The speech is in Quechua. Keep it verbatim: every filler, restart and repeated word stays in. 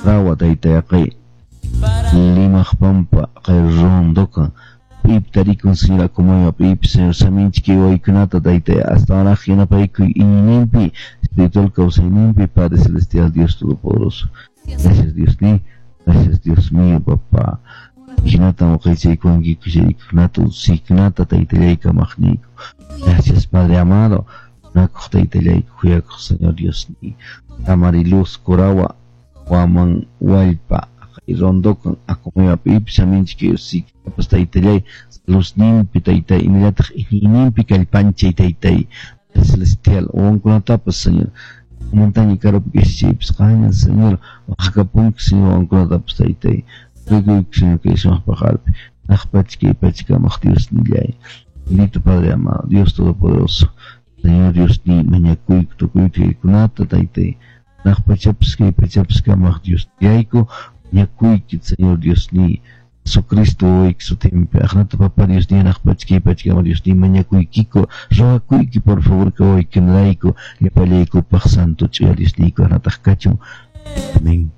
Rawa taytay aqay Limaqpampa aqay rondokan p'iypi tarikun Señor Acomayo p'iypi Señor saminchik kay waykunata taytay astawanraq yanapaykuy iñiyninpi espiritual kawsayninpi Padre Celestial Dios Todopoderoso. Gracias Dios ni, gracias Dios mío, papá. Hinatan waqaychaykuwankiku chaykunata ususiykunata taytallay kamaqniyku. Gracias Padre amado. Nakuq taytallayku khuyakuq Señor Dios ni. Amariluz Curawa Waman Wallpa rondokan Acomayo p'iypi saminchik kay ususiykunatapas taytallay saludninpi taytay imallataq iñiyninpi kallpanchay taytay celestial wawankunatapas Señor montaña karupi kashachaypas qanña Señor waqakapunki Señor wawankunatapas taytay rikuyku Señor kay sumaq paqarpi naqpacha kay pachakamaq Dios nillay bendito Padre amado Dios Todopoderoso Señor Dios ni mañakuyku tukuyta kaykunata taytay naqpachapas kay pachapas kamaq Dios nillayku mañakuyki Señor Dios ni Jesucristo wawayki sutinpi aqnata papá Dios ni naqpacha kay pachakama Dios ni mañakuykiko ruwakuyki por favor kawaykunarayku llapallaykupaq santo ch'uya Dios niyku aqnataq kachun. Amén.